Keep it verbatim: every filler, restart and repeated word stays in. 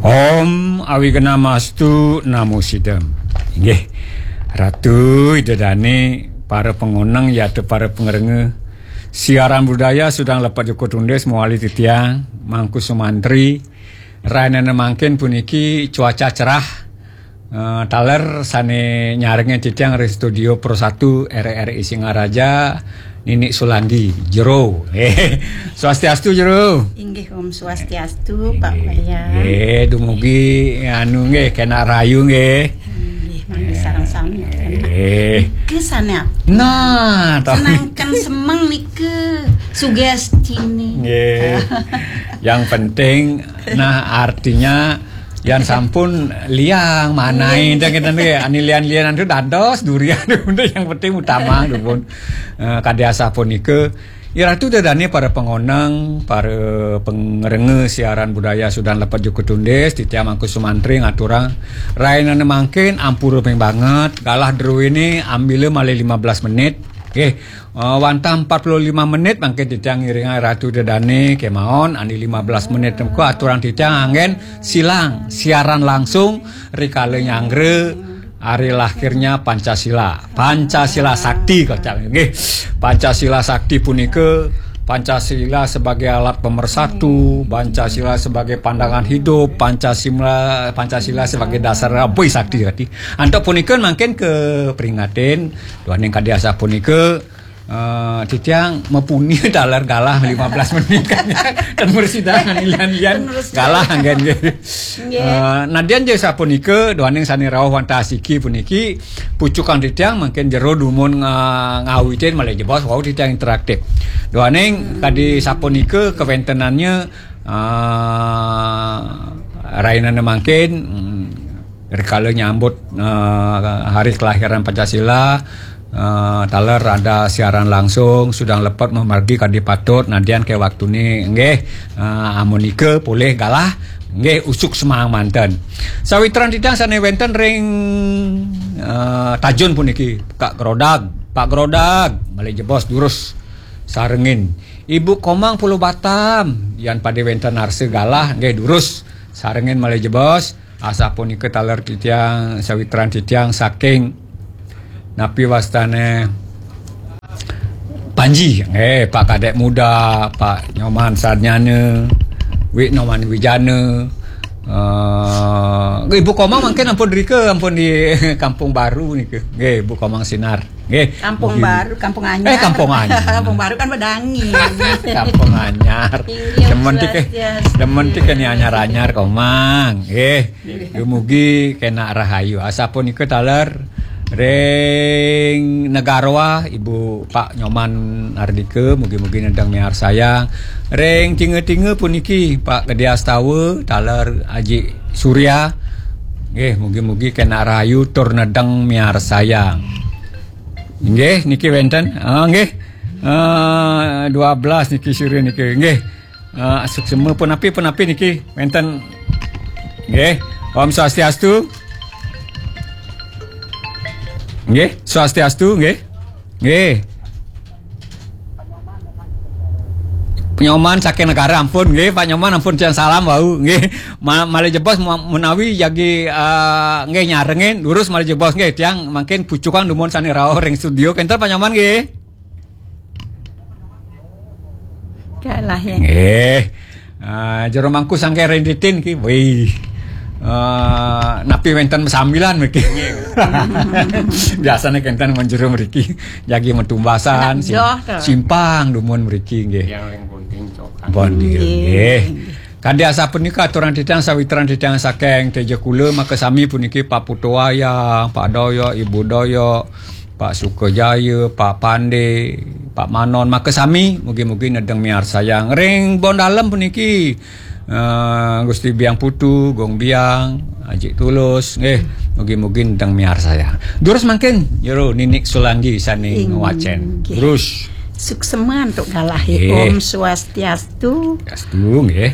Om Awighnamastu Namo Sidam. Inggih, Ratu Ida Dane, para pangoneng yata para pangrengga siaran budaya Sudang Lepet Joko Tundis mawali titiang Mangku Sumantri. Rainana mangkin puniki cuaca cerah. Eh, taler sane nyarengin titiang ring studio Pro satu R R I Singaraja, Nini Sulandi, Jero. Eh, swastiastu, Jero. Inggih, Om Swastiastu, Pak Wayan. Nggih, dumugi anu nggih, kena rayu nggih. Inggih, mangke sareng sami. Eh. Nika sane apa? Nah, toh. Senangkan semeng nika sugestine. Nggih. Yang penting, nah, artinya yan sampun liang manai, nggih, enten kenten nggih. Ani lian-lianan tu dados durian tu, yang penting utama tu pun. Eh, kadi asapunika, Ratu Ida Dane, para pangoneng, para pangrengga siaran budaya Sudang Lepet Joko Tundis, titiang Mangku Sumantri ngaturang rainane mangkin ampura ping banget, galah druene ambila malih lima belas menit. Nggih, eh, wantah empat puluh lima menit mangkin titiang ngiringang Ratu Ida Dane kemawon, ani lima belas menit menika aturang titiang anggen silang siaran langsung rikala nyanggra hari lahirnya Pancasila. Pancasila Sakti, kocap nggih. Pancasila Sakti punika, Pancasila sebagai alat pemersatu, Pancasila sebagai pandangan hidup, Pancasila, Pancasila sebagai dasar abui sakti tadi. Antuk punika mangkin kaperingatin, duaning kadi asapunika, eh, titiang mapuni taler galah lima belas menit kan. Ten mresidan lian-lian. Ten mresidan. Galah anggen nggih. Nggih. Eh, nadyan ja sapunika, duaning sane rauh wantah asiki puniki, pucukan titiang mangkin Jero dumun nga-, ngawitin malih jebos wau titiang interaktif. Duaning kadi sapunika kawentenannya, eh, rainane mangkin, hmm, rikala nyambut, eh, hari kelahiran Pancasila, eh, taler ada siaran langsung, Sudang Lepet mamargi kadi patut, nadyan ke waktune nggih, eh, amunika polih galah, nggih, usuk semahang manten. Sawitran titiang sane wenten ring, eh, Tajun puniki, Kak Grodag, Pak Grodag, malih jebos durus sarengin. Ibu Komang Pulau Batam, yan pade wenten arsa galah, nggih, durus sarengin malih jebos. Asapunika taler titiang, sawitran titiang saking napi wastane Panji, eh, Pak Kadek Muda, Pak Nyoman Sarnyana, Wik Nyoman Wijana, eh, Ibu Komang mangkin ampun rika, ampun di Kampung Baru nika. Nggih, Ibu Komang Sinar. Nggih. Kampung Baru, Kampung Anyar. Eh, Kampung Anyar. Kampung Baru kan Bedangi. Kampung Anyar. Inggih, demen tik, eh, swastiastu. Demen tik ni anyar-anyar, Komang. Nggih. Dumugi kena rahayu. Asapunika taler ring Negaroa, Ibu Pak Nyoman Ardika, mugi-mugi nedeng miarsayang. Ring Tinga-tinga puniki, Pak Gede Astawa, taler Aji Surya. Nggih, mugi-mugi kena rahayu tur nedeng miarsayang. Nggih, niki wenten. Ah, nggih. Ah, dua belas niki sira niki. Nggih. Ah, suksema punapi, punapi niki wenten. Nggih. Om Swastiastu. Nggih, Swastiastu nggih. Nggih. Pak Nyoman saking Negara ampun nggih, Pak Nyoman ampun tiang salam wau nggih. Ma-, malih jebos ma-, menawi jagi, ah, nggih nyarengin durus malih jebos nggih, tiang mangkin pucukan dumun sane rauh ring studio. Kenten Pak Nyoman nggih. Kalah ya. Nggih. Ah, Jero Mangku sangke rinditin ki. Wih. Ah, napi wenten sambilan mriki. Biasane kenten men jero mriki. Jagi metumbasan, sim-, simpang dumun mriki nggih. Yang ring Bonting cokan. Bonting nggih. Nggih. Kadi asapunika aturang titiang sawitran titiang saking Teja Kula, maka sami puniki Pak Putu Wayang, Pak Doyok, Ibu Doyok, Pak Sukajaya, Pak Pande, Pak Manon, maka sami mugi-mugi nedeng miarsayang. Ring Bondalem puniki, eh, Gusti Biang Putu, Gung Biang, Ajik Tulus, nggih, mugi-mugi nedeng miarsayang. Durus mangkin, Jero Ninik Sulandi sane ngwacen. Inggih. Durus. Suksema antuk galah. Nggih. Om Swastiastu. Swastiastu, nggih.